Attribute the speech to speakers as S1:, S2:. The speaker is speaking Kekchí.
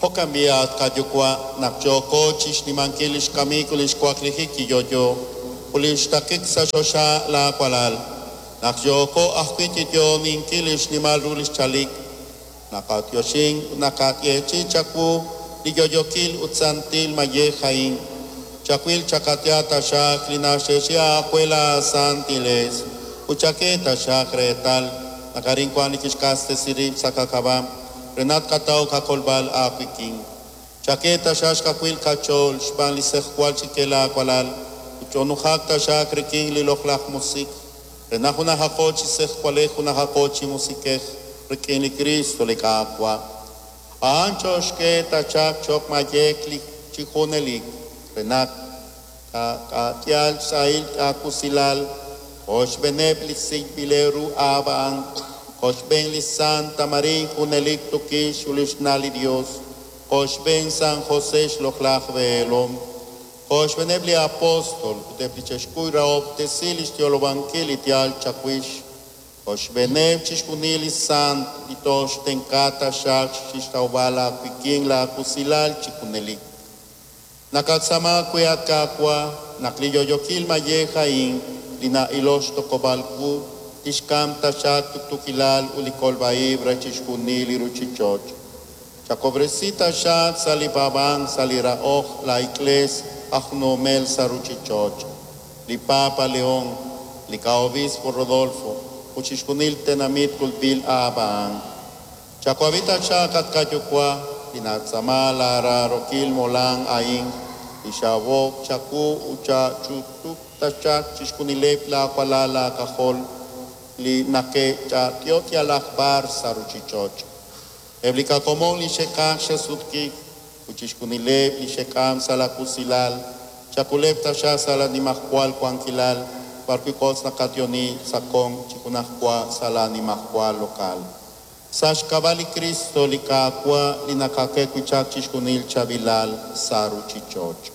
S1: Jo'kan b'i' at qaYuwa', naq yooko chixnimankil lix kamik ut lix waklijik chi yo'yo ut lix taqik sa' choxa laa walal, naq yooko ajwi' chi yo'oninkil lix nimal ru lix chalik, naqatyoxin ut naqayeechi chawu li yo'yookil ut santil mayej a'in. Chawil chakatya taxaq li naxyeechi aawe laa santiles ut chak'e taxaq reetal naq arin wan li kixq'axtesi rib' sa' qak'ab'a' re naq tqataw qakolb'al aawik'in. Chak'e taxaq xkawil qach'ool xb'aan li sejwal chike laawalal ut ch'onujaq taxaq rik'in li loq'laj musiq' re naq junajaqo chi sejwalej junajaqo chi musiq'ej rik'in li Cristo li Qaawa'. A'an choxk'e taxaq cho'q mayej li chi junelik re naq taqayal xsahil aakusilal qochb'eeneb' li sik'b'ileb' ru aab'aan, qochb'een li Santa María junelik tukix ut lix na' li Dios, qochb'een San José xloq'laj b'eelom, qochb'eeneb' li apóstol ut eb' li che'xkuy rahob'tesi lix yolob'ankil li yaal chawix, qochb'eeneb' chixjunil li sant li toxtenq'a taxaq chixtawb'al aawik'in laakusilal chi junelik. Nakatzama we at Qaawa' naq li yo'yookil mayej a'in li na'ilok xtoq'ob'al qu tixk'am taxaq tuqtuukilal ut li kolb'a-ib' re chixjunil li ruchich'och'. Chakob'resi taxaq sa' li paab'ank sa' li rahok la Iglees aj nomel sa' ruchich'och', li Papa León, li ka-Obispo Rodolfo ut chixjunil tenamit kulb'il aab'aan. Chawab'i taxaq at qaYuwa' li natzama laaraarokil molam a'in li xawok chawu ut chach'utub' taxaq chixjunileb' laawalal laak'ajol li nake'ch'a'yot yalaq b'ar sa' ruchich'och'. Eb' li qakomon li xe'qaj xe'sutq'iik ut chixjunileb' li xe'k'am sa' la kusilal, chakuleb' taxaq sa' la nimajwal wankilal b'arwi' kotz naqatyoni sa' kon chi junajwa sa' la nimajwal lokal. Sa' xk'ab'a' li Cristo li Qaawa' li naqak'e wi' chaq chixjunil chaab'ilal sa' ruchich'och'.